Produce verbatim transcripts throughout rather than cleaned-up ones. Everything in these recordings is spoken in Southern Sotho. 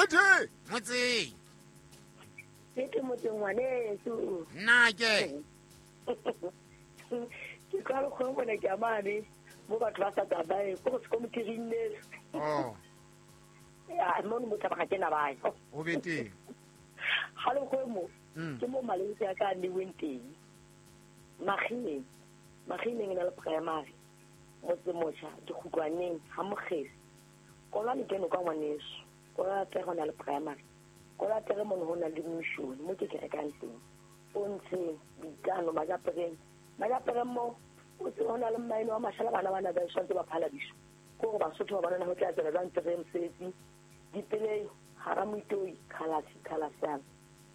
Tete motseng. Tete motseng ngwaneso. Nna ke. Ke ka re go bona ke amane mo batho ba sa tsabae go se komitiring ne. Oh. Ya mo mo taba ga ke na bae. O bete. Ha le go mo ke mo maleng ya ka ne wenteng. Magine. Magine ngena le primary. Motse mocha dikhutlwaneng ha mogesi. Kolwa le keno ka ngwaneso. Kolwa tle go na le primary. Kolwa tle mo ho na le mission mo ke ke rekang teng. Pontsheng dikano majapereng. Majapereng mo o tse hona le mmaeno wa mashala bana bana ba tshwantse ba phala diso. Go go Basotho ba bona ho tla tsela jang tere mosebetsi. Dipelei hara moitoi khalasi khalasana.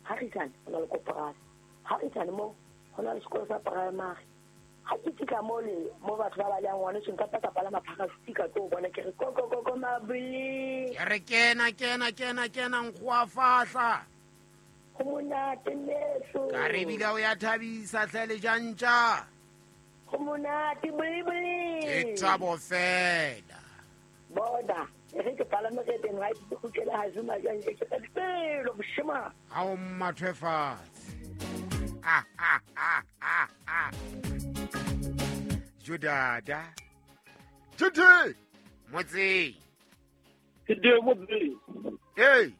Ha re tsane hona le koporasi. Ha re tsane mo hona le sekolo sa primary. Ha ke fihla mo le mo batho ba ba leng ngwane so nka pata pala maphaka stika tlo bona ke re go go go go mabili. Ke re kena kena kena kena nkgoa fahla. Go monate neso. Ka re bila o ya thabisa hle le jantja. Go monate buli buli. Ke thabo fela. Boda re ke pala mo re teng ha ke kgutlela ha zuma jang ke ka dipelo boshema. Ha o mathwe fatshe. Ah ah ah ah ah. Judada. Tete motseng. Ke de motseng. Hey.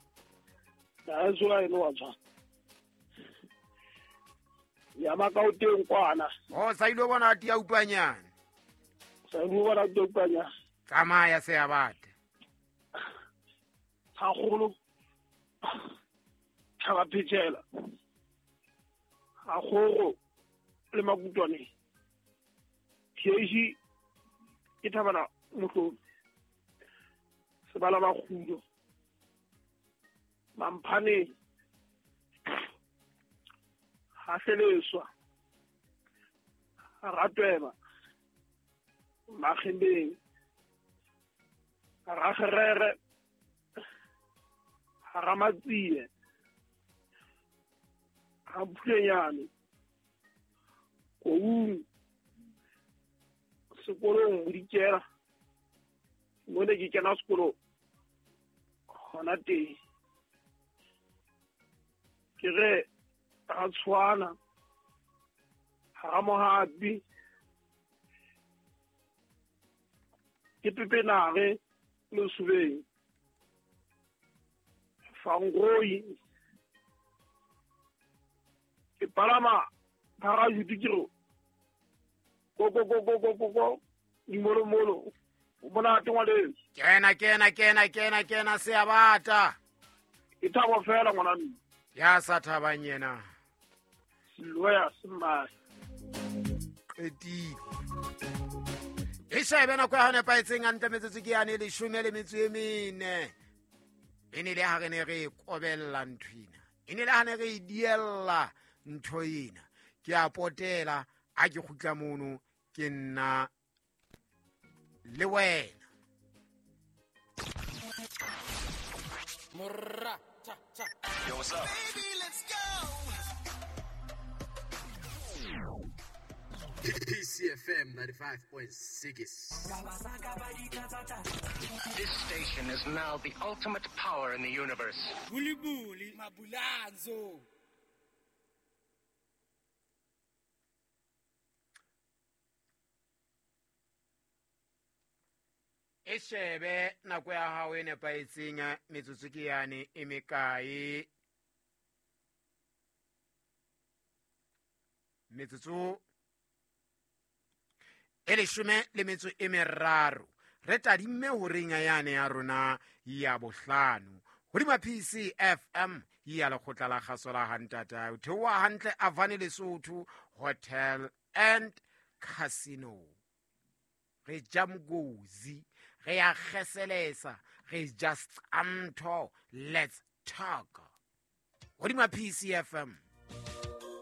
Ta zwa eno wa tswa. Ya makauteng kwana. Oh sa ile bona tia utlwanyana. Sa ile bona tia utlwanyana. Tsamaya se ya batla. Ha golo. Tshaba phetsela. Ha goro le makutwane. Tieji ke thabana motlo. Sebala ba kgudo. Mamphane ha seleswa. Ratweba. Magembeng. Ragerere. Ramatsie. Ramphulenyane. Koung. Sekolong bodikela. Mo ne ke kena sekolo hona teng. Ke re ra tshwana ha mohapi ke pepenare le subeng fangoi ke palama phara jutikiro go go go go go go go dimolo molo o bona tengwa le kena kena kena kena kena se a bata ke thabo fela ngwana nna ya sa thabang yena loya sma qetile e shebe nako ya hone paetseng a ntle metsotso ke yane leshome le metso e mene e ne le ha re ne re kobella nthwena e ne le ha ne re diella ntho ena ke a potela a ke kgutla mono ke nna le wena morra cha cha. Yo, what's up? Baby, let's go. P C F M ninety-five point six. This station is now the ultimate power in the universe. Buli buli mabulanzo. E shebe nako ya hao e nepahetseng metsotso ke yane e mekae metsotso e leshome le metso e meraro re tadimme horeng yane ya rona ya bohlano hodima P C F M ya lekgotla la kgaso la hantata o theoha hantle Avane Lesotho Hotel and Casino re ja mogozi re ya kgeselesa re just amtho let's talk hodima P C F M.